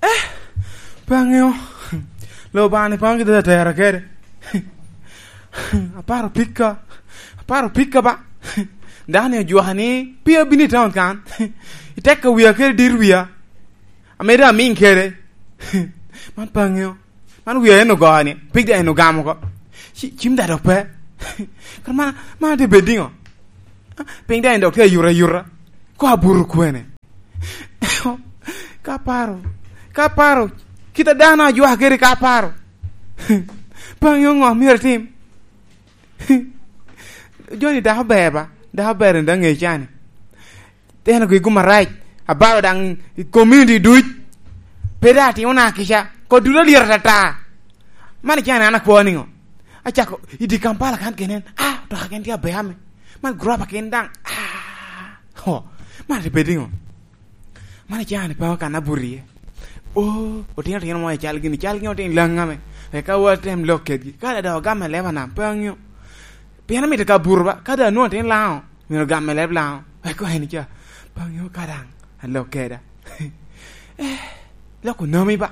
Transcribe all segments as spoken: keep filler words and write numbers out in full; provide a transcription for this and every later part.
Eh, pe aŋeo. Loo bani paŋo gide atera kede. Aparo pikka. Aparo pikka ba. Dano ni ojwaka ni pe abino i taun kan. Iteka wia kede dir wia. Amede amiŋ kede. Man pe aŋeo. Man wia en ogoyo ni. Pig da en ogamo oko. Ci-, cim da dok pe. Kara man, man te bed diŋo? Piny da en dok te ayuta ayuta. Ko aburo kwene. Ka paro, ka paro, kit a dano ajwaka kede ka paro. Pe aŋeo ŋo myero atim. Joni dako ber ba, dako ber en daŋ ŋe cani. Teno gi gum arac, abalo daŋ i community duc. Pe daŋ atimo na kica, ko duto alyero atata. Man icani an akwo niŋo? Acako i di Kampala kan kenen, ah, to aken tye aber ame. Man guropa ken daŋ, ah, ho, man tye pe diŋo? Man icani pe kan abuto iye. Oh, otino otino mo ical gini, cal gini otino laŋ ame. Eka wa tem lok kedgi. Ka da dok ogam i leba nam, pe aŋeo. Pien amito ka buto ba, ka da anwoŋo otino laŋo, myero ogam i leb laŋo. Eka en ica, pe aŋeo ka daŋ, alok keda. Eh, lok onomi ba.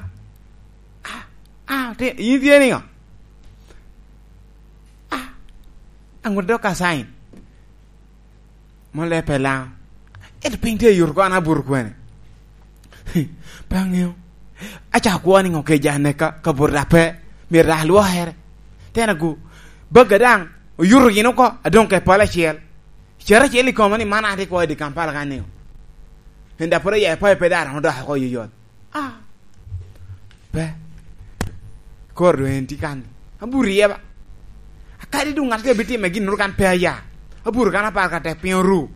Ah, ah, te-, yin tye niŋo? Ah, aŋut dok ka sign. Mon le pe laŋo. Ento piny tye i yuto ko an abuto kwene. Pe aŋeo. Acako kwo niŋo ke ja neka, ka buto da pe. Myero da alwokere. Tena gu. Bagga daŋ. Oyuto gin oko. Adoŋ ke pala acel. Cere acel i koma ni man atye kwo i di Kampala kan niŋo. En da pwod aya i payo pe daŋ romo dok oko yoyot. Ah. Pe. Koro doŋ en tye kan. Abuto iye ba. Akadi doŋ ŋat tye abitime gin kan pe aya. Abuto kan apar ka tek piny oru.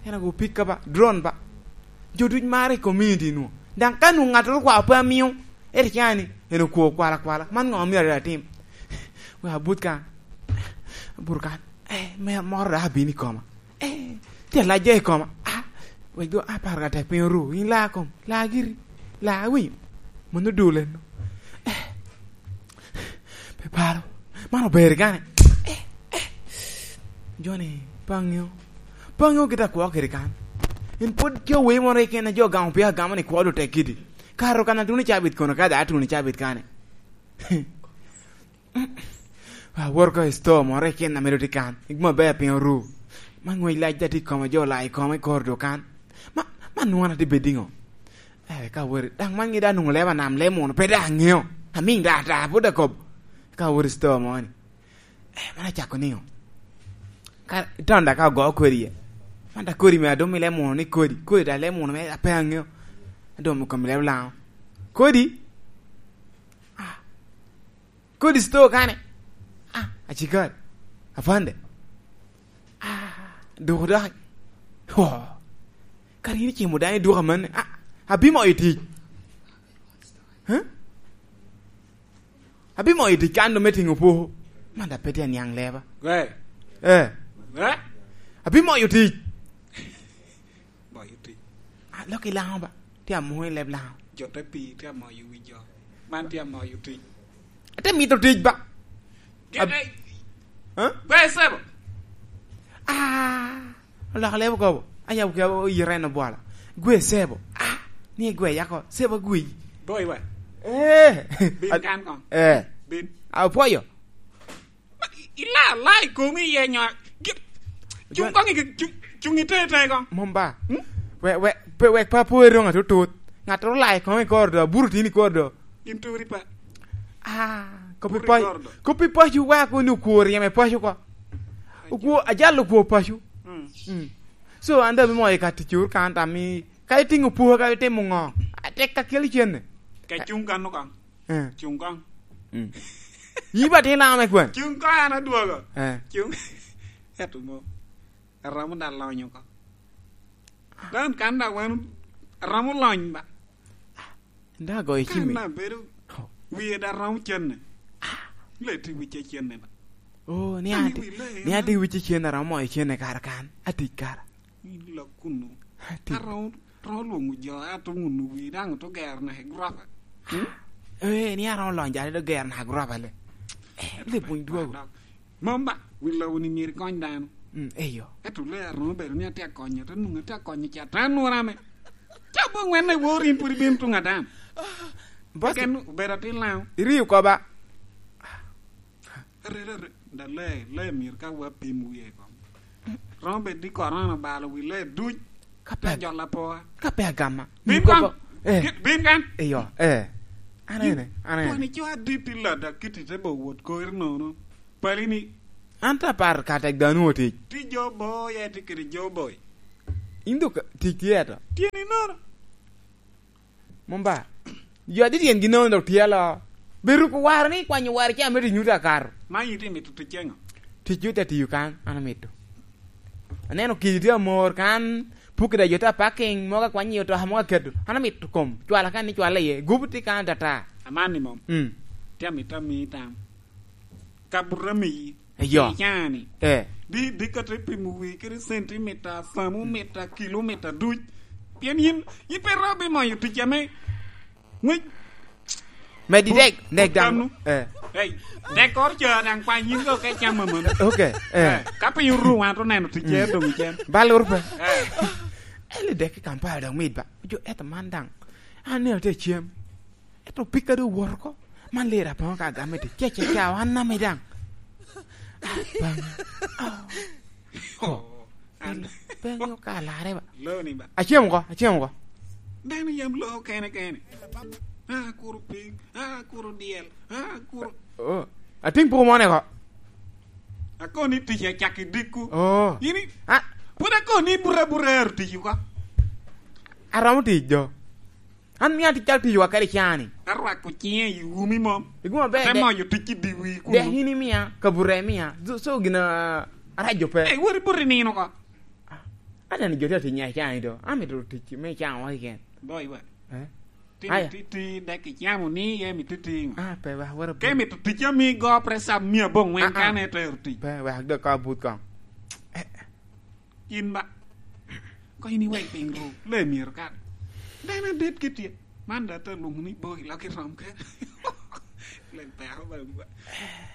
En ago pikka ba. Drone ba. Jo duc mare i community nu. Daŋ ka nu ŋat ru kwa pe amio. Ere cani. En okwo kwala kwala. Man ŋo myero atim? Wek abut kan. Abuto kan. Eh, me moro da abino i koma. Eh, tye alac ja i koma. Ah, wek do apar ka tek piny oru. In la kom, la giri, la winyo. Mano dul en. Eh, pe paro. Man ober gane. Eh, eh. Joni, pe aŋeo. Pe aŋeo kit akwo kede kan. In pwod tye owe moro iken a jo gamo pia gamo ni kwo do tek kidi. Karo kan atuno cabit kono ka da atuno cabit kane. Awoto oko i store moro i kin ame doŋ tye kan, i guma ber piny oru. Man ŋwec lac da tye i koma, jo ola i koma i kor doŋ kan. Ma, ma nwoŋo atye bedo iŋo? Eh, ka awoto, daŋ man ŋe da anwoŋo leba nam le muno, pe daŋ aŋeo. Amiŋ da ata, pwod akobo. Ka awoto i store moro ni. Eh, man acako niŋo? Ka, iton da ka ogo kodi iye. Man da kodi me adoŋ i le muno ni kodi, kodi da le muno me ape aŋeo. Adoŋ i kom leb Laŋo. Kodi? Ah. Kodi store kane? Ah, acikari. Afande. Ah, doko doki. Ho. Kara in icimo dano i duka manni. Ah, abimo i tic. Huh? Abimo i tic kan me tiŋo poko. Man da pe tye aniaŋ leba. Gwe. Eh. Gwe. Abimo i tic. Boyo tic. Ah, lok i Laŋo ba. Tye amoŋo i leb Laŋo. Jo te pii tye amoyo wi jo. Man tye amoyo tic. Ate mito tic ba. Gin Ab-, ai. Huh? Gwe sebo. Ah, oloko leb okobo. Ayabo ke oyito en obwolo. Gwe sebo. Ah, ni gwe yako. Sebo gwi. Boy wa. Eh. Bin Ad-, kan kong. Eh. Bin. Apwoyo. Ma i-, ila, la i komi iye nyo, gi-, cuŋ Jon- koŋ i, cuŋ, cuŋ i te, te koŋ. Mom ba? Hmm? We, we, pe, wek pa po eroŋ atutut. Ŋat ru la i koŋ i kor do, aburo tin i kor do. Gin turi pa. Ah, kopi Buri pa, kor do. Kopi pacu wa ko ni okwo ryeme pacu ko. Okwo, ajal okwo pacu. Hmm. Hmm. So, an da mi moyo ka tic ur kan tam i, ka itiŋo puha, ka itimo ŋo? Atek ka keli cenne. Ka cuŋ kan okaŋ. Eh. Cuŋ koŋ. Mm. Yi ba tin Laŋo me kwan. Cuŋ koŋ an adwogo. Eh. Cuŋ. Eto mo. Aromo da lony oko. Dan kan da wan aromo lony ba. Nda goyo cimi. Kan da bedo. Oh. Wiye da romo cenne. Leti wice cenne ba. Oh, ni Kan ati, iwi le, ni ati wice cenne aromo moyo cenne kara kan. Atic kara. Ni lok kunu. Atic. Aromo Romo lwoŋo jo, ato ŋuno wi, daŋ oto gero naka i guropa. Hmm? Eh, ni aromo lonyo jare do gero naka i guropa le. Eh, le pwony dwogo. Mom ba, wi lobo ni myero ikony dano. Mm, eyo. Ento le aromo bedo ni atye akonyo, ato nwoŋo atye akonyo ca, to anwora me. Ca Bo ŋwen na iwor in pwod ibino tuŋ adam. Boss, keken obedo atin Laŋo. Irio koba. Arere, arere. Da lee, lee myero ka wa pim wie kom. Romo bedo ni korona obalo wi lee duc. Ka pe, te jolo apoa. Ka pe agama. Bin kan. Eh. Kit, bin kan. Eyo, eh. An ene, an ene. Twani co adit i lada kiti te bo wot kori nono. Pali ni. An ta par ka tek dano otic. Ti jo boy, eh, ti kede jo boy. In dok tic tye ato. Tyeni nono. Mom ba. Jo adit tyen gin nono dok tye alo. Bedo ku waro ni kwanyo waro ca me tic nyuto akato. Ma in itye mito tic ceŋo? Tic yo te tiyo kan, an amito. Aneno kidi tye amor kan, pukki da jo te parking, mogo akwany i otoka, mogo aketo. An amito kom, cwala kan ni cwala iye, gubu tye kan atata. Aman ni mom. Mm. Tye amito ami tam. Ka buto amiyi, eyo, i caa-ni, eh, di, di ka te pimo wii kede centimita, thermometer, kilometer duc. Pien yin, yin pe ro bimoyo tic ame ngwec. Medi dek, dek dano. Eh. Hey, dek kor ca daŋ kwany yin dok ka icamo amono. Ok, eh. Eh, ka piny oru, wan to neno tic, mm, doŋ icen. Bal uru pe. Eh. Eli dek i Kampala dok mit ba. Jo eto man daŋ. An nino te cem. Ento pika doŋ owoto oko. Man lira poŋo ka agame tye. Ce, ce, ce, wan nami daŋ. Ah, Baŋi. Ah. Oh, an. Penyo ka alarre ba. Loni ba. Acem oko, acem oko. Dano yam loo kene kene. Ah, kuro piny, ah, kuro dyel, ah, kuro. Oh, ating poko mone oko. Akoni tic acak i dikku. Oh. Yini, ah, pwod akoni bura bura ero tic oko. Aromo tic do. An mia tic cal tic wa kede cani. Arwako cinge i umi mom. Iguma ber. Ate de. Moyo tic i diwi kuno. Dek in imia, kabura imia. So, so gina arajo pe. Eh, wori buri nino ko. Ah, aneno jo tye atic nya cani do. Amito tic me can wa kiken. Boy wa. Eh? Ti, aya. Ti, ti, dek icamo ni, ye mi ti, ti. Ah, pe wa, wara. Ke mi to tic ami go presa mia bo ngwen, ah, ah, kane tero tic. Pe wa, dek ka but kong. Eh. In ba, ko in iwek piny ru, le myero kan. Dano adit ki tye. Man da te lwongo ni boy, lok i rom kene. Lek peko ba gwa.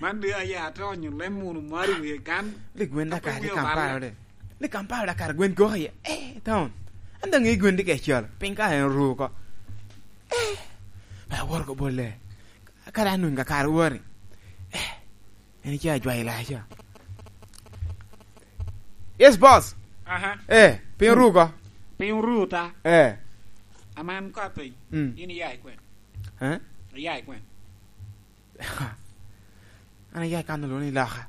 Man de aya te onyo lem munu mari wie kan. Lik gwen da kare Kampala de. Lik Kampala da kare gwen gok iye. Eh, town. An da ngi gwen de ke col. Piny ka en ru ko. Eh, ba wor ko bolle. Kare anun ka kare wori. Eh, en ica ajwayo laca. Yes, boss. Aha. Eh, piny oru oko. Piny oru ta. Eh. Aman ka piny. Mm. In iya i kwen? Eh? Iya i kwen? An iya i kan olwoŋo ni loka.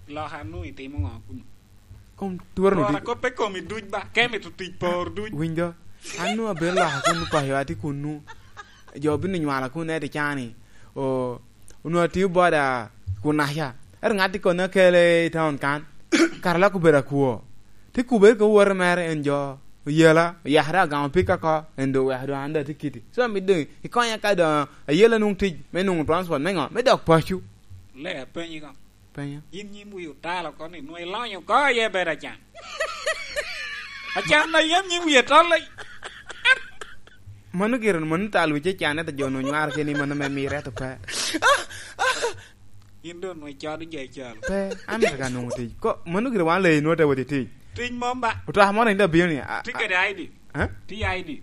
Loka nu itimo ŋo kuno? Kom tworo no. Tworo di- koppe komi duc ba. Kemi to tic por duc. Winjo. An nu abedo loka kun payo ati kun nu. Jo bino nywala kun eti cani. O, onwongo atio boda kun aca. Ento ŋat i koni akele i taun kan. Kara lok obedo akwo. Ti kubere ka wote mere en jo oyela, oyakere agamo pika ko, en do weka do an do ati kiti. So, mi doŋ ikonya ka do ayela nwoŋo tic me nwoŋo transport me ŋo? Me dok paco. Le apenyi ko. Penyo. Yin nyim wi otalo ko ni, nwoŋo ilonyo ko aye bedo acan. Acan na yam nyim wi atol ai. Mano gire, mano tal wi ce can, ento jo onwongo nywaro keni, mano me mire, ento pe. Yin doŋ nwoŋo icodo jo i calo. Pe, an mito ka nwoŋo tic. Ko, mano gire wan le inwoŋo te wot i tic. Tic mom ba. Otoka moro inde abino ni, a, ti a, kede I D. Eh? Ti I D.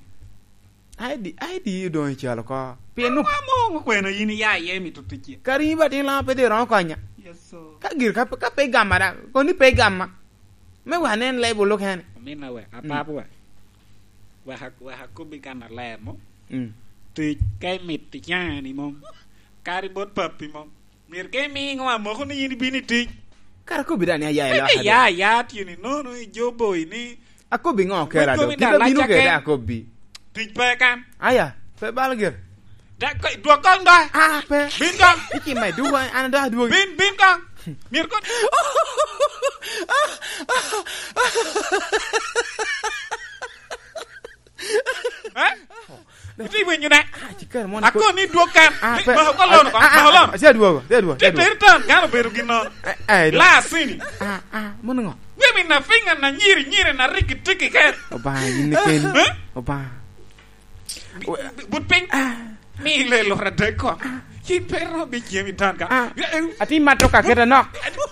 I D, I D doŋ icalo oko. Pien nu- Amoŋo kwena yin iya iye mito ticce. Kara in ba tin lama pe dero konya. Yes, sir. Ka gir ka, ka pe igama da, koni pe igama. Me wa nen level okene. Amina we, mm, apap we. Wek a-, wek akobbi kan aler mo. Mm. Tic ka imito icani mom. Kadi bot papi mom. Myero ka imiŋo amoko ni yin ibino i tic. Kara kobbi da ni aya i loka. Ebe ya, ya tyeni nono i jo boyi ni. Akobbi ŋo kela do? Kit abino kede akobbi. Tic pe kan. Aya, pe bal gire. Da, ko, dwok kong da. Ah, pe. Bin kong. Iki me duwa, an da duwa. Bin, bin kong. Myero kon. Eh? Iti winyo ne? Ah, cikere mon. Ako ni dwog kan. Ah, pe. Mako lono, ah, ah, mako lono. Sia dwogo, sia dwogo. Te ter tan, kan obedo gin nono. Eh, eh, la sini. Ah, ah, mon ngo? Wemi na finga na nyiri, nyiri na riki tiki ken. Oba, yin ken. Eh? Oba. Bi-, bi-, but piny. Ah. Mi le lora dek ko. Ah. Yin pe ro bi jemi tan ka. Ah. Eh, eh. Ati matoka keta nok.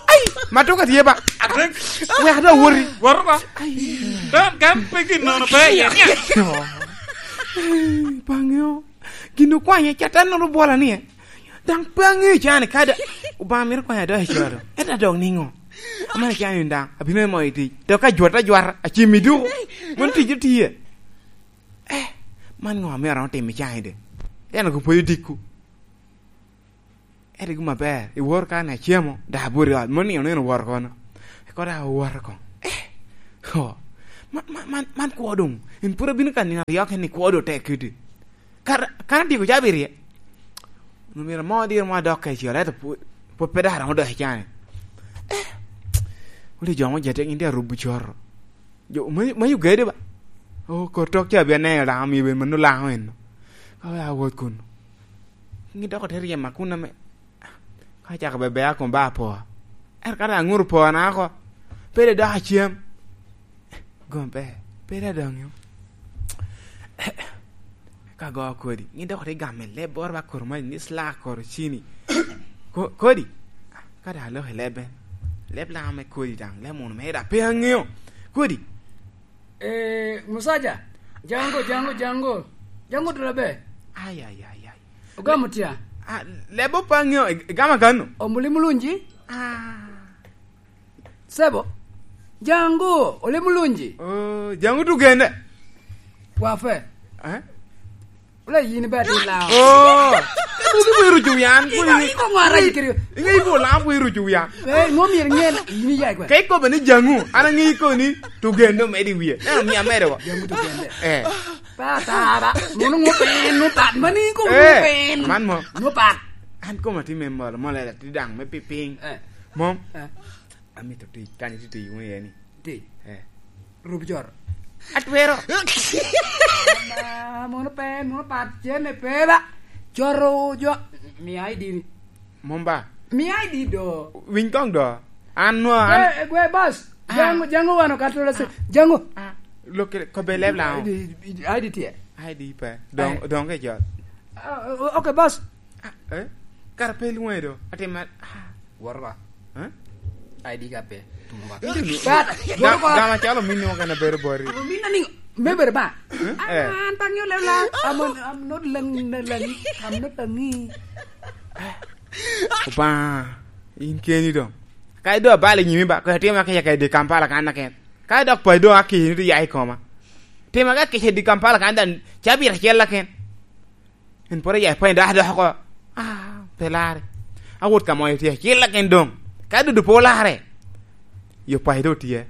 Ai, matoka tye ba. Adek. Wek da wori. Woro ba. Ai. Dan kan pe gin nono pe ye. Oh. Pe aŋeo. Gin okwanye, Catan noro bwola ni, eh. Daŋ pe aŋeo can kadi. Obaŋa mito kwanya dok i coro. Ento adok niŋo? Amana can daŋ. Abino emo i tic. Dok ajwata ajwata. Acim i duku. Mon tic otiye. Eh, man ŋo ame aromo timo i can de? Eno ko pwod odiko. Ento gin aber, iwor ka ni acemo, dok abwot i ot, moni oneno owoto kono. Eko dok owoto kono. Eh, ho, man, man, man, man kwo doŋ. En pwod abino ka nino aryo kene ni kwo doŋ tek kede. Kara, kan atyeko ca abirye. Omyero mo diro mo adok kacel, ento pwod, pwod pe dok aromo dok i cani. Eh, wuli jo mo jete gin tye arubo coro. Jo, ma, ma Uganda ba? Oh, kor tok ca bia neno Laŋo, mio ben mano Laŋo eno. Ka oya wot kun. Ngi dok ote ryema kun ame. Ka cako bebe a kun ba po. Er ka da ŋuru po na ko. Pede dok acem. Gom pe. Pede adonyo. Ka go kodi. Ngi dok ote gamo i leb boro ba koro ma ni sla koro cini. Ko-, kodi. Ka da lok i leb ben. Leb Laŋo me kodi daŋ. Leb munu me da pe aŋeo. Kodi. Eh, Musaja, jango, jango, jango. Jango dula be. Ay, ay, ay, ay. Ogamo tya? Ah, lebo pa ŋeo, ig-, igama kano? Omuli mulungi? Ah. Sebo, jango, ole mulungi? Oh, jango tugende? Wafe. Eh? Wala yin ibe atin Laŋo. Oh. Iko, iko ŋo arac kiri? Inge iko Laŋo pu irucu wiya. Eh, ŋo myero ŋen yin iya kwe? Ka ikobe ni jaŋu, an aŋe iko ni tugendo medi wiye. Neno mia mere wa. Jaŋu tugende. Eh. Pa tara, mono ŋo pen, ŋo pat, mani iko ŋo pen. Man mo. Ŋo pat. An koma ti me mol, mol era ti daŋ me piping. Eh. Mom. Eh. Amito tic, kan iti tic wunu iye ni. Ti. Eh. Rub jor. Atwero. Ama, mono pe, mono pat, cene pe ba. Joro jo. Mi I D ni. Mom ba? Mi I D do. Winy kong do. An nwa, an. Gwe, gwe, boss. Ah. Jango, jango wano katolo se. Ah. Jango. Ah. Look, kobe leb Laŋo. I D, I D tye. I D pe. Dong, eh, dong ke jot. Ah, o-, okay, boss. Ah, eh? Kara pe lwoŋe do. Atima, ah. Woro ba. Eh? I D ka pe. Tumo ba. Ino ni, but, ga-, woro ba. Gama calo minni mo kena bedo bori. Amo minna ni, me bedo ba. Eh? An, eh, an pa ŋeo leb Laŋo. I'm, I'm not Laŋi, Laŋi. I'm not Laŋi. Obaŋa, in keni dong. Ka idwa balo i nyimi ba, ko itimo ka yaka i di Kampala kan na ken. Ka idok pa idong aki ni to ya i koma. Tima ka kica i di Kampala kan dan, ca bita cel la ken. En pwod oya i pweny dok adok oko. Ah, pe larre. Awot ka moyo tye acel lakin doŋ. Ka dudu pe olarre, yo paco doŋ tye.